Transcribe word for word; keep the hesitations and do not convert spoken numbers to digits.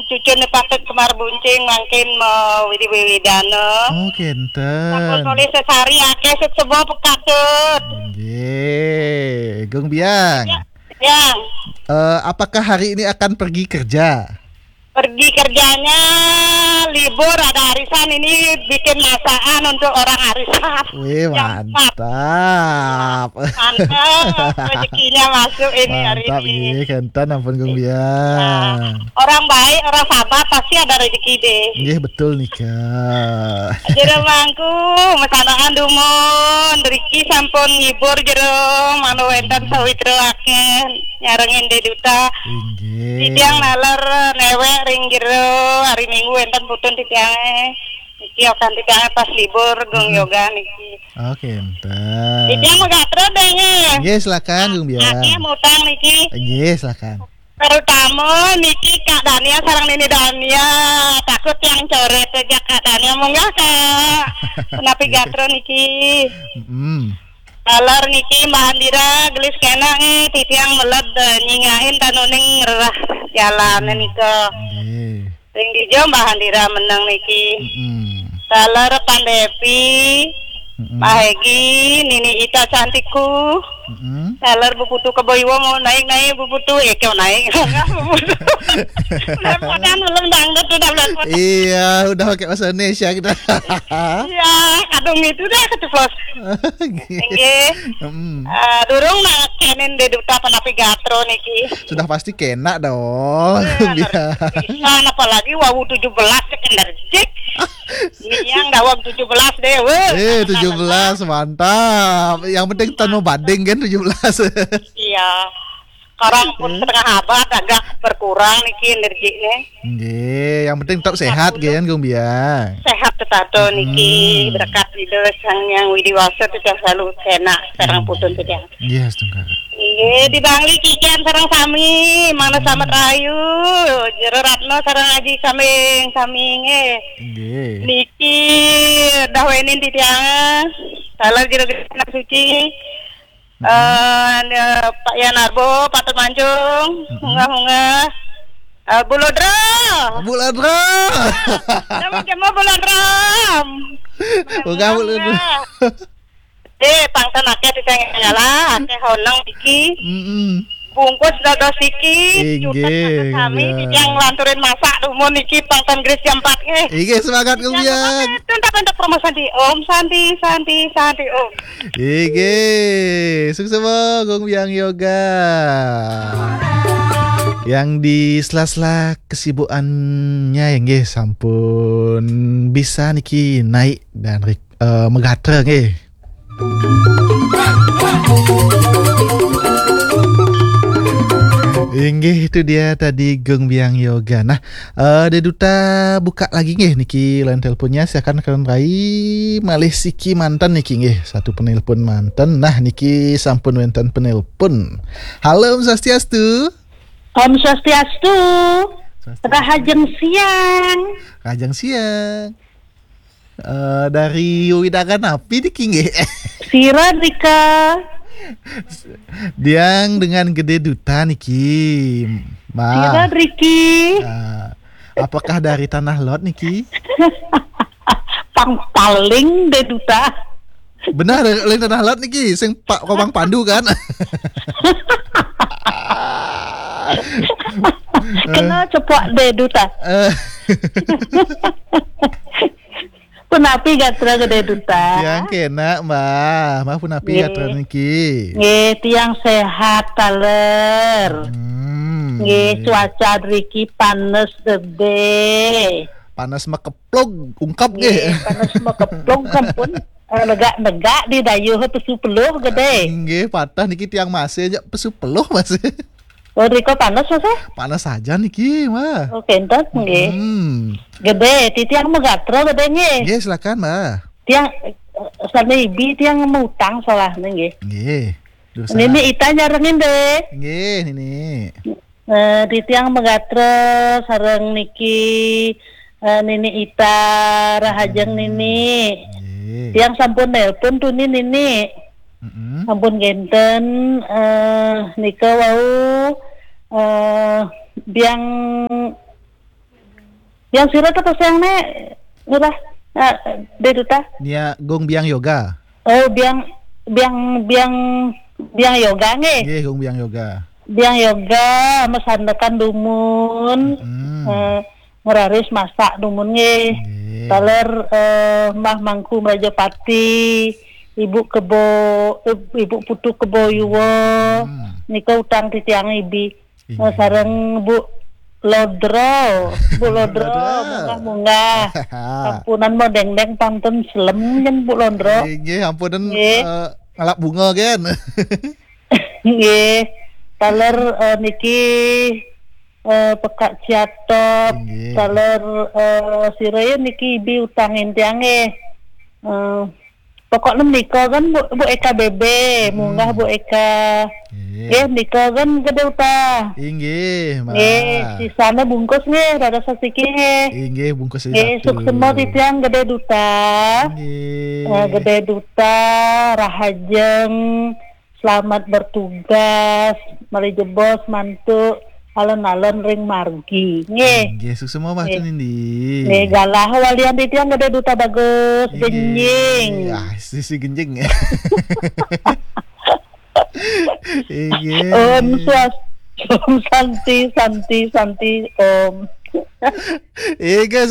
Cucun patut kemari buncing mangkin mau widi-widana. Oh, kenten. Sampun nulis sesari akeh sesebo pekatut. Nggih, Gung Biang. Ya, Biang. Eh, apakah hari ini akan pergi kerja? Pergi kerjanya libur, ada arisan, ini bikin masakan untuk orang arisan. Wih, mantap. Mantap, rezekinya masuk ini hari ini. Mantap, nggih, kenten ampun, Gung Biang. Orang baik, orang sabar pasti ada rezeki deh. Nggih, betul nika. Jero mangku, mesanaan dumun, riki sampun ngibur jero, mangda wenten sawitra akeh nyarengin Dek Duta. Inggih. Titiang naler newek ring jero, hari Minggu wenten putun titiange. Niki okan titiange pas libur, Gung Yoga niki. Oke, enten. Titiang mau gatra deh, nggih. Nggih, silakan, Gung Biang. Akeh mutang niki. Nggih, silakan. Terutama niki Kak Dania sareng Nini Dania. Takut yang coret aja Kak Dania. Munggah, Kak. Napi gatra niki? Mm-mm. Taler niki Mbah Andira gelis kena nggih, titiang meled, eh, nyingahin tanuning rerah jalan nika. Nggih. Ring dija Mbah Andira meneng niki? Mm-mm. Taler Pandepi, mm-mm, Mbah Egi, Nini Ita cantikku. Mm-mm. Taler Bu Putu Kebo Iwa mau naik-naik Bu Putu, eh, kau naik. Enggak, Bu Putu. Belepotan, ulun dangdut udah belepotan. Iya, udah pakai bahasa Indonesia kita. Iya, kadung itu dah keceplos. Nggih. Nggih. Mm-mm. Eh, durung nak kenen Dek Duta panapi gatra niki. Sudah pasti kena dong. Eh, Biar. Pisan, apalagi wau tujuh belas cek enerjik. Niang daweg tujuh belas deh, weh. Eh, tujuh belas, mantap. Yang penting tanu bading kan tujuh belas. Iya. Sekarang pun setengah abad agak berkurang niki energinya. Nggih, yang penting tetap sehat, nggih, kan, Gung Biang? Sehat tetato niki, hmm, berkat Ida Sang Hyang Widi Wasa titiang selalu kena sareng putun titiang. Nggih, astungkara. Nggih, di Bangli kikian sareng sami, mana selamat rahayu, Jero Ratno sareng Aji Kambing sami nggih. Nggih. Niki dah wenin titiang, salah Jero Genah Suci. Eh, ne, Pak Yanarbo, Patut Mancung, munggah-munggah. Eh, Bulodra. Bulodra. Nama kemo Bulodra. Munggah, Bulodra. Eh, pangtan akeh titiang nyala, akeh honeng iki. Mm-mm. Bungkus dados iki, inggih, jutek kami, inggih, titiang nglanturin masak dumun iki pangtan gelis jam empat nggih. Inggih, semangat, Gung Biang. Jangan lupa, untuk promo Santi. Om Santi, Santi, Santi, Om. Inggih, sukses, Gung Biang Yoga. Yang di sela-sela kesibukannya, ya, nggih, sampun bisa niki naik dan rek-, eh, megatra, nggih. Inggih, itu dia tadi Gung Biang Yoga. Nah, eh, Dek Duta buka lagi nggih niki line teleponnya. Silakan kalian rai malih siki manten niki nggih. Satu penelpon manten. Nah, niki sampun wenten penelpon. Halo, Om Swastiastu. Om Swastiastu. Swastiastu. Rahajeng siang. Rahajeng siang. Eh, dari Widara napi niki nggih? Sira, Rika. Diang dengan Gede Duta niki, Mbak. Sira, Riki. Eh, apakah dari Tanah Lot niki? Pang paling Dek Duta. Benar, lain Tanah Lot niki, sing Pak Komang Pandu kan? Kena cepak Dek Duta. Eh. Punapi gatra Gede Duta? Tiang kena, Mbah. Mbah punapi gatra niki? Nggih, tiang sehat taler. Hmm, nggih, nggih. Cuaca riki panes gede. Panes makeplug, ungkap nggih. Nggih, panes makeplug sampun, eh, negak-negak di dayuh pesu peluh gede. Nggih, patah niki tiang masih aja pesu peluh masih. Oh, riko panas, Mas, eh? Panas saja niki, Mbah. Oh, kenten, nggih. Hmm. Gede, titiang megatra gede, nggih. Nggih, silakan, Mbah. Tiang, eh, sane ibi tiang mutang soalnya, nggih. Nggih. Duh, Nini salah. Ita nyarengin, deh. Nggih, Nini. Eh, titiang megatra sareng niki, eh, Nini Ita, rahajeng Nini. Nggih. Tiang sampun nelpon tuni Nini. Mm-mm. Sampun ngenten, eh, nika wau, eh, biang Biang sira ta pasiang ne, ngurah, eh, Dé Duta. Nia Gung Biang Yoga. Oh, biang, biang, biang, biang yoga nggih. Nggih, Gung Biang Yoga. Biang yoga, mesandekan dumun, Hmm. eh, ngeraris masak dumun nggih. Nggih. Taler, eh, Mbah Mangku Mrajapati, Ibu Kebo, eh, Ibu Putu Kebo Yuwa, Hmm. nika utang titiang ibi. Inggih. Eh, sareng Bu Lodro, Bu Lodro, Lodro. Munggah-munggah. Ampunan mau dengdeng pantun selem nyen Bu Lodro. Inggih, ampunan, Nggih. eh, ngalap bunga kan. Nggih. Taler, eh, niki, eh, Pekak Ciatop. Inggih. Taler, eh, sira ya niki ibi utangin tiang nggih. Eh, pokoknya menika kan Bu, Bu Eka Bebe, Hmm. munggah Bu Eka. Nggih. Nggih, menika kan Gedé Duta. Inggih, Mbak. Nggih, sisane bungkus nggih, rada sasiki nggih. Inggih, bungkus Nggih, satu. Suksema titiang Gedé Duta. Nggih. Eh, Gedé Duta, rahajeng, selamat bertugas, malih jebos mantuk alon-alon ring margi. Nggih. Nggih, suksema Mbah Nggih. Tunindi. Nggih, galah walian titiang Gedé Duta bagus, Inggih. Genjing. Ah, sisi genjing. Inggih. Om Swast-, Om Santi, Santi, Santi, Om. Inggih,